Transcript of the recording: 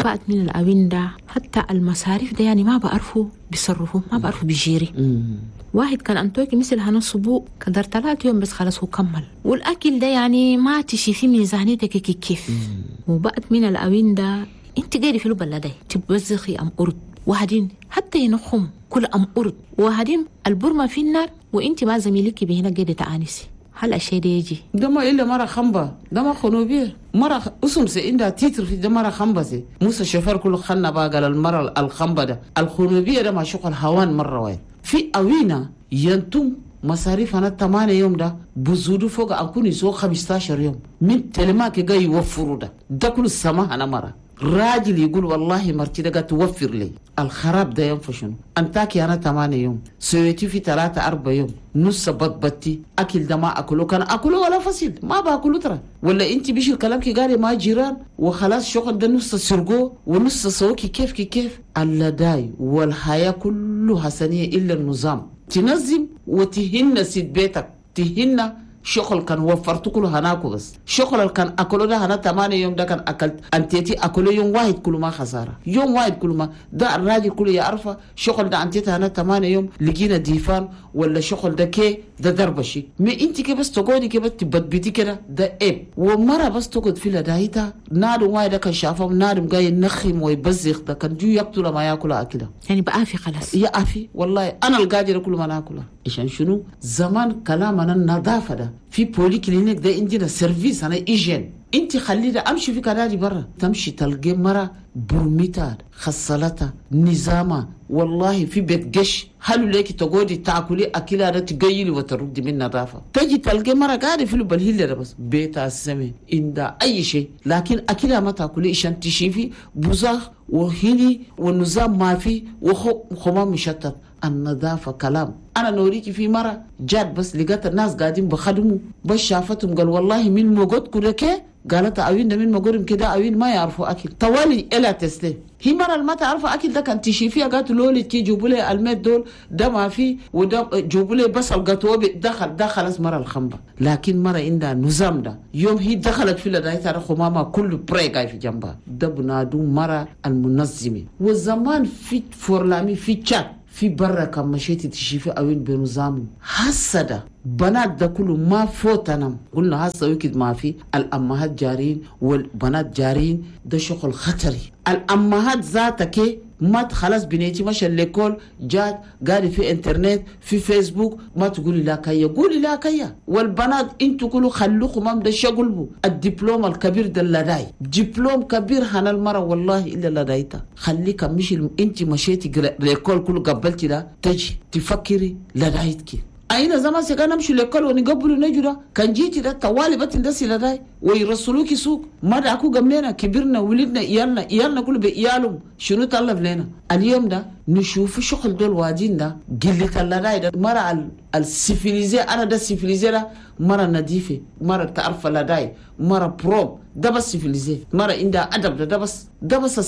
بعد من الأوين ده حتى المصاريف ده يعني ما بعرفوا بيصرفوا، ما بعرفوا بيجيري. واحد كان أنتوكي مثل هنصبو قدر 3 يوم بس خلاص هو كمل. والأكل ده يعني ما تشي في ميزانيتك كيف. وبعد من الأوين ده انت قاعدة في البلد تبزخي أم أرد وهدين حتى ينخم كل أم أرد وهدين البرمة في النار وانت ما زميلك بهنا قاعدة تآنسي. هل الشيء ده يجي؟ ده ما إلا مرة خمبة، ده ما خنوبية مرة أسم سي عندها تيتر في ده مرة خمبة سي موسى الشوفير كله خلنا بقى قال المرة الخمبة ده الخنوبية ده ما شغل هوان مرة واحد في أوينا ينتم مصاريف أنا 8 يوم ده بزودو فوق أكون يسوق 15 يوم من تلماك جاي يوفروا ده ده كل السماء أنا مرة راجل يقول والله مرتي ده توفر لي الخراب ده ينفشنو أنتاكي أنا 8 يوم سويتي في 3-4 يوم نص بطبتي أكل ده ما أكله كان أكله ولا فصيل ما باكله ترى ولا أنت بيش الكلام كي قالي ما جيران وخلاص شغل ده نص سرقو ونص سوكي كيف كي كيف اللداي والحياة كله حسنية إلا النظام تنظم وتهن سيد بيتك تهن شغل كان وفرت كله هناكو بس شغل كان أكله ده هنا 8 يوم ده كان أكلت أنتيتي أكله يوم واحد كله ما خسارة يوم واحد كله ما ده الراجل كله يعرفه شغل ده أنتيتي هنا 8 يوم لقينا ديفان ولا شغل ده كي ده دربشي ما أنت كي بس تقعدي كي بس تبتبتي كده ده إب ومرة بس تقعد في لدايتا نادم واحد ده كان شافهم نادم جاي ينخم ويبزخ ده كان جو يقتل ما يأكل أكله يعني بقافي خلاص يا أفي والله أنا القادر كله ما ناكله عشان شنو زمان كلامنا النظافة ده في polyclinique ده عندنا service أنا hygiène انت خلي ده امشي في كنادي برا تمشي تلقي مرة برميتا خصلتها نظامها والله في بيت قش هلو ليك تقعدي تاكلي اكلها ده تقيلي وتردي من نظافة تجي تلقي مرة قاعدة في البلهيل ده بس بيتها السمي عندها اي شيء لكن اكلها ما تاكلي عشان تشيفي بزاخ وهني والنظام ما في وخمام مشتت. النظافة كلام أنا نوريكي في مرة جات بس لقيت الناس قاعدين بخدموا بس شافتهم قال والله من موجود كده كي قالت أوين ده من موجودهم كده أوين ما يعرفوا أكل طوالي إلا تسلم هي مرة ما تعرفوا أكل ده كان تشيفيها قالت لولي كي جيبوا لي الميت دول ده ما في وده جيبوا لي بس القطوة دخل ده خلاص مرة الخمبة. لكن مرة عندها نظام ده يوم هي دخلت في لدايتها خمامة كله بريقة في جنبها ده بنادو مرة المنظمة. والزمان في فورلامي في تشات في برا كان مشيتي تشيفي أوين بنظام حسدا بنات ده كله ما فوتنا قلنا هسه وكد ما في الأمهات جارين والبنات جارين ده شغل خطري. الأمهات ذاتك ما خلاص بنيتي ماشي l'école جات قاري في انترنت في فيسبوك ما تقولي لا كيا قولي لا كيا. والبنات انتوا كلوا خلوكم ما ده شغلبو الدبلوم الكبير ده لداي دبلوم كبير هنا المرة والله الا لدايتا خليك مش انت مشيتي l'école كله قبلتي ده تجي تفكري لدايتك. أين زمان سكان نمشي l'école ونقبلوا نجرا كان جيتي ده طوالي بتندسي لداي ويرسلوكي سوق ما دعكو قملنا كبرنا ولدنا إيالنا إيالنا كله بإيالهم شنو طلب لنا اليوم ده نشوف شغل دول وادين ده قلة اللداي ده مرة ال civilisée أنا ده civilisée ده مرة نظيفة مرة تعرف لداي مرة propre ده بس civilisée مرة عندها أدب ده بس ده بس